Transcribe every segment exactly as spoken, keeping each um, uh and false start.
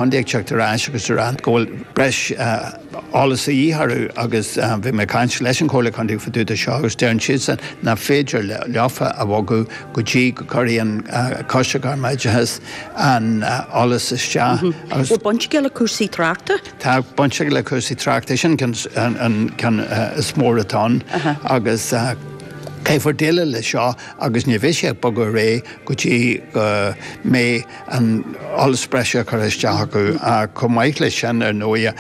Chontae ag teacht ar ais agus ag rá go bhfuil breis eolas a dhíth orthu agus bhí mé ag caint leis an Chomhairle Contae fá dtaobh de seo agus deireann siadsan nach féidir leofa a bhogadh go dtí go gcuirfidh an Coiste Gairmoideachais an eolas isteach agus. Bhfuil baint aige le cúrsaí tráchta? Tá baint aige le cúrsaí tráchta, sin an ceann is mó atá ann agus. Caithfear déileáil leis seo agus ní bheidh sé ag bogadh ar aghaidh go dtí go mbeidh an eolas breise curtha isteach acu. Chomh maith leis sin, ar ndóigh,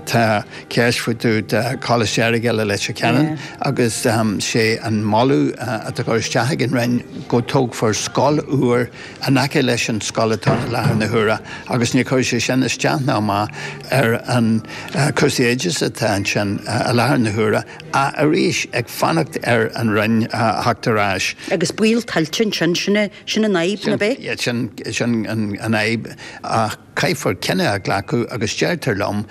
tá ceist faoi dtaobh de Choláiste Aireagail i Leitir Ceanainn agus sé an moladh atá curtha isteach ag an Roinn go dtógfar scoil úr in aice leis an scoil atá ann i láthair na huaire agus ní chuirfidh sé sin isteach ná amach ar an cúrsaí oideachais atá ansin i láthair na huaire. Arís, ag fanacht ar an Roinn a theacht ar ais. Agus baol tuilte ansin, sin sin an fhadhb, nach ea? Sin sin an fhadhb. Ach caithfear cinneadh a ghlacadh agus deirtear liom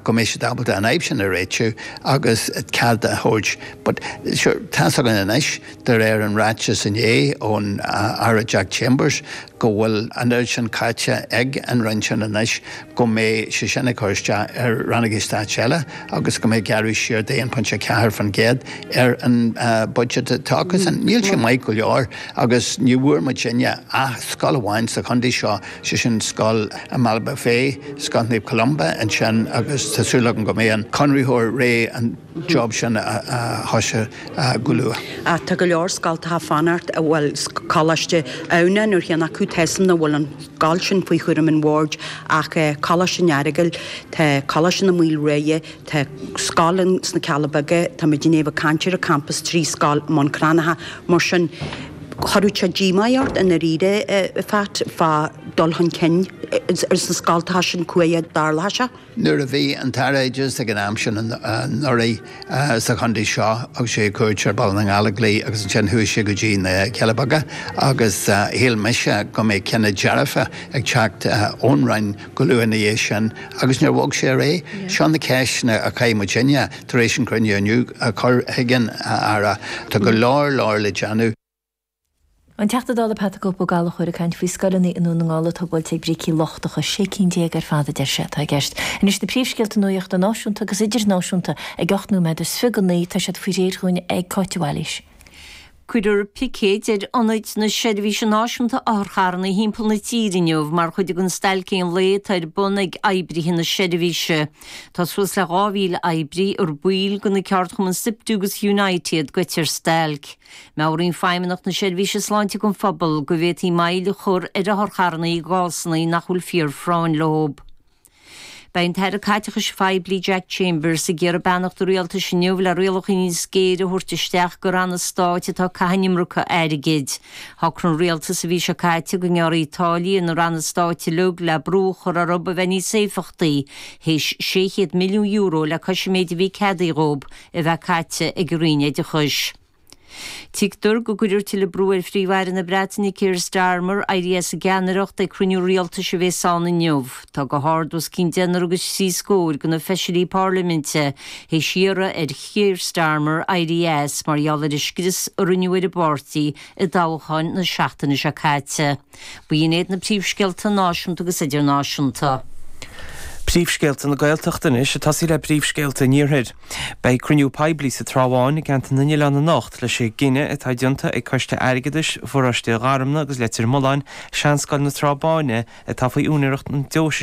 go mbeidh siad ábalta an fhadhb sin a réitiú agus cead a thabhairt. But sure, tá's againn anois, de réir an ráiteas inné ón Aire Jack Chambers, go bhfuil an oiread sin caite ag an Roinn sin anois go mbeidh sé sin ag cur isteach ar rannógaí stáit eile agus go mbeidh gearradh siar d'aon pointe ceathair faoin gcéad ar an budget atá acusan. Níl sé maith go leor agus ní bhfuair muidinne ach scoil amháin sa chontae seo, sé sin scoil i mBaile Bhuirne, Scoil Naomh Columba ansin agus tá súil agam go mbeidh an conraitheoir réidh an job sin a thoiseacht go luath. Ach tá go leor scoltacha ag fanacht, bhuel, Coláiste Adhamhnáin ar cheann acu, tá 'fhios a'm nach bhfuil an scoil sin faoi chúram an bhoird ach Coláiste an Earagail, tá Coláiste na Maoilriabhra, tá scoil sna Cealla Beaga, tá muid i ndiaidh a bheith ag caint ar an campas trí scoil i mBun Cranncha, mar sin chuirfeadh sé díomá ort i ndáiríre, a Phat, fá dul chun cinn sna scoltacha sin cá huair a dtarlóidh sé. Nuair a bhí an tAire Oideachais ag an am sin anuraidh sa chontae seo thug sé cuairt ar Bhaile na nGallóglach agus ansin chuaigh sé go dtí na Cealla Beaga agus shíl mise go mbeadh cinneadh dearfa ag teacht ón Roinn go luath ina dhiaidh sin agus níor bhog sé ar aghaidh. Seo na ceisteanna a chaith muidinne tar éis an cruinniú inniu a chur chuig an Aire. Tá go leor leor le déanamh. An Teachta Dála Pat the Cope Ó Gallchóir ag caint faoi scoileanna i nDún na nGall atá buailte ag brící lochtacha, sé cinn déag ar fad a deir sé atá i gceist. Anois na príomhscéalta nuachta náisiúnta agus idirnáisiúnta ag ocht nóiméad is fiche go naoi, tá siad faoi réir dhúinn ag Cáit de Bhailís. Cuirfear picéid ar ionaid na Seirbhíse Náisiúnta Otharcharranna thimpeall na tíre inniu mar chuid den stailc aon lae atá ar bun ag oibrithe na seirbhíse. Tá suas le dhá mhíle oibrí ar baill de na ceardchumainn Siptu agus Unite iad goite ar stailc. Meabhraíonn Feidhmeannacht na Seirbhíse Sláinte don phobal go bhféadfaí moill a chur ar otharcharranna i gcásanna nach bhfuil fíorphráinn leo. Beidh an tAire Caiteachais Phoiblí Jack Chambers ag iarraidh beannacht an rialtais inniu le rialacha níos géire a thabhairt isteach do ranna stáit atá ag caitheamh an iomarca airgid. Shocraigh an rialtas an mhí seo caite go ngearrfaí táillí ar na ranna stáit uilig le brú a chur orthu a bheith níos éifeachtaí, théis sé chéad milliún euro le cois an méid a bhí ceadaithe dhóibh a bheith caite ag an Roinn Oideachais. Tuigtear go gcuirfear tuilleadh brú ar Phríomh-Aire na Breataine Keir Starmer éirí as an gceannaireacht ag cruinniú rialtais a bhéas ann inniu. Tá go hard os cionn deichniúr agus trí scór de na feisirí parlaiminte théis iarraidh ar Keir Starmer éirí as mar gheall ar an scrios a rinneadh ar an bpáirtí i dtoghcháin na seachtaine seo caite. B'in iad na príomhscéalta náisiúnta agus idirnáisiúnta. Príomhscéalta na Gaeltachta anois, ag tosaí le príomhscéalta an Iarthair. Beidh cruinniú poiblí sa Trá Bháin i gceantar na nOileán anocht leis an gcinneadh atá déanta ag Coiste Airgeadais Pharóiste Gharmna agus Leitir Mealláin Seanscoil na Trá Báine atá faoi úinéireacht na deoise